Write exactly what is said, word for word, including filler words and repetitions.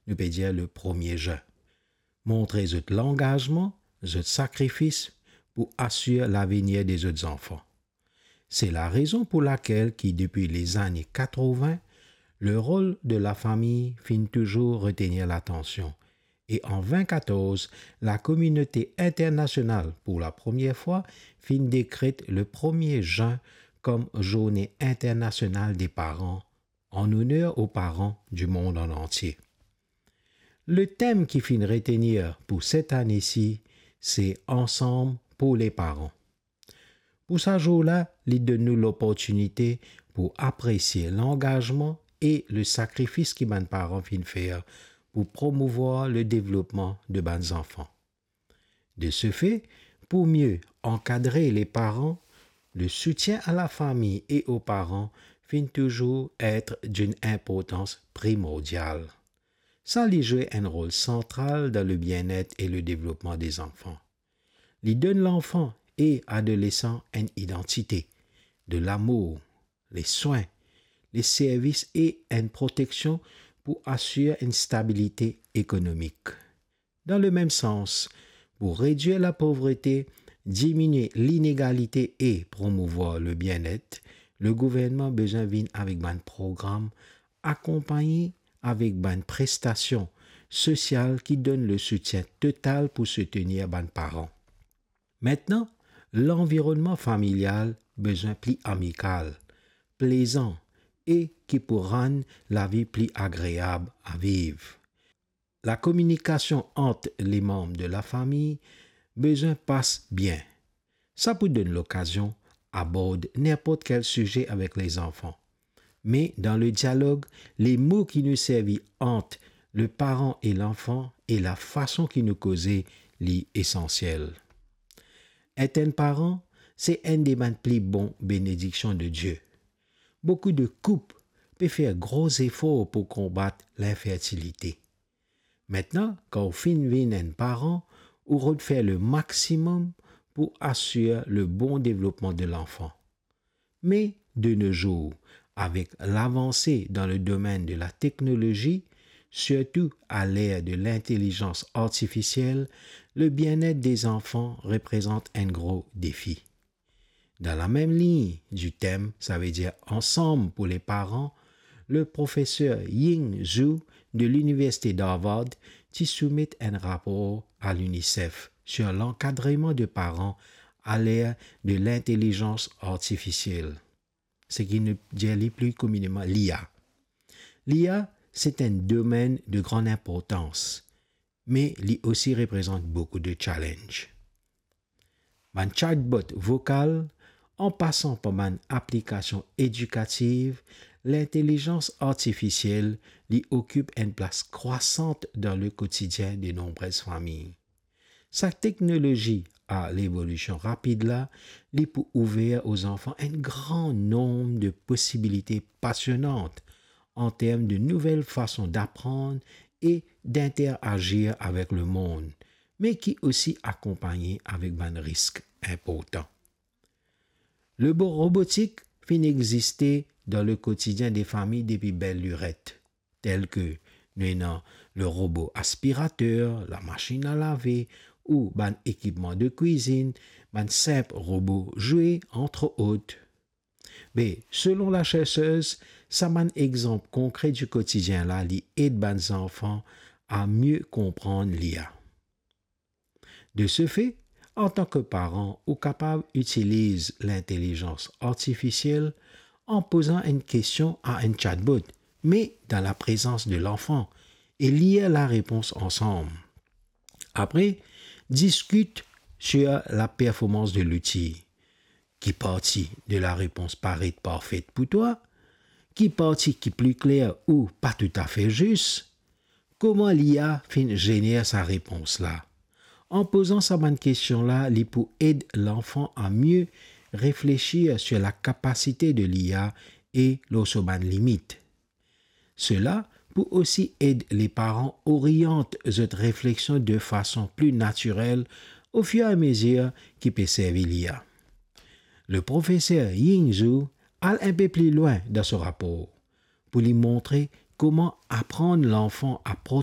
nou pe dir le premie zin. Montre zot langazman, zot sakrifis pou asir lavenir de zot zanfan. Se larezon pou lakel ki, depi lezane katrovin, le rol de lafami finn touzour retenir latansion. E an vin katorz, lakominote internasional, pou lapremier fwa, finn dekret le premie zin kom Zourne Internasional de Paran, an oner o paran di mond an antie. Le tem ki finn retenir pou set ane si, se Ansanm pou leparan. Pou sa zour la, li donn nou loportinite pou apresie langazman e le sakrifis ki bann paran finn fer pou promouvwar le devlopman de bann zanfan. De se fe, pou mie ankadre leparan, le soutien a lafami e o paran finn touzour et dinn inportans primordial. Sa li zwe enn rol santral dan le bienet e le devlopman de zanfan. Li donn lanfan e adolesan enn idantite, de lamour, leswin, leservis e enn proteksion pou asir enn stabilite ekonomik. Dan le mem sans, pou redwir lapovrete, diminie linegalite e promouvwar le bienet, le gouvernman bizin vinn avek bann program akonpagne avek bann prestasion sosial ki donn le soutien total pou soutenir bann paran. Aster, lanvironnman familial bizin pli amikal, plezan e ki pou rann lavi pli agreab a viv. Lakominikasion ant lemanm de lafami bizin pas bien. Sa pou donn lokazion abord ninport kel size avek lezanfan. Me dan le dialog, lemo ki nou servi ant leparan e lanfan e lafason ki nou koze, li esansiel. Et enn paran, se enn de bann pli bon benediksion de Die. Boukou de koup pe fer gro zefor pou konbat linfertilite. Aster, kan ou finn vinn enn paran, ou rod fer le maximum pou asir le bon devlopman de lanfan. Me de no zour, avek lavanse dan le domenn de lateknolozi, sirtou a ler de lintelizans artifisiel, le bienet de zanfan reprezant enn gro defi. Dan lamem lign di tem, savedir Ansanm pou leparan, le profeser Ying Zhu de Liniversite Harvard ti soumet enn rapor a l'UNICEF sir lankadreman de paran a ler de lintelizans artifisiel, seki nou dir li pli komineman l'I A. L'I A, se enn domenn de gran inportans, me li osi reprezant boukou de challenge. Bann chatbot vokal, an pasan par bann aplikasion edikativ, lintelizans artifisiel, li okip enn plas krwasant dan lekotidien de nonbrez fami. Sa teknolozi a levolision rapid la, li pou ouver o zanfan enn gran nonb de posibilite pasionant an term de nouvel fason daprann e d'interagir avek lemond, me ki osi akonpagne avek bann risk inportan. Lebo-, robotik finn existe dan lekotidien de fami depi bel liret, tel ke nou ena le robo aspirater, lamasinn a lave ou bann ekipman de kwizinn, bann sinp robo zwe, antre ot. Be, selon lasersez, sa bann exanp konkre di kotidien la, li ed bann zanfan a mie konprann l'I A. De se fe, antan ke paran, ou kapav itiliz lintelizans artifisiel an pozan enn kestion a enn chatbot, me dan laprezans de lanfan, e lir larepons ansam. Apre, diskit sir laperformans de louti. Ki parti de larepons paret parfet pou twa? Ki parti ki pli kler ou pa toutafe zis? Kouma l'I A finn zener sa repons la? An pozan sa bann kestion la, li pou ed lanfan a mie reflesir sir lakapasite de l'I A e lor so bann limit. Sela pou osi ed leparan oriant zot refleksion de fason pli natirel ofiramezir ki pe servi l'I A. Le profeser Ying Zhu al inpe pli lwin dan so rapor pou li montre kouma aprann lanfan a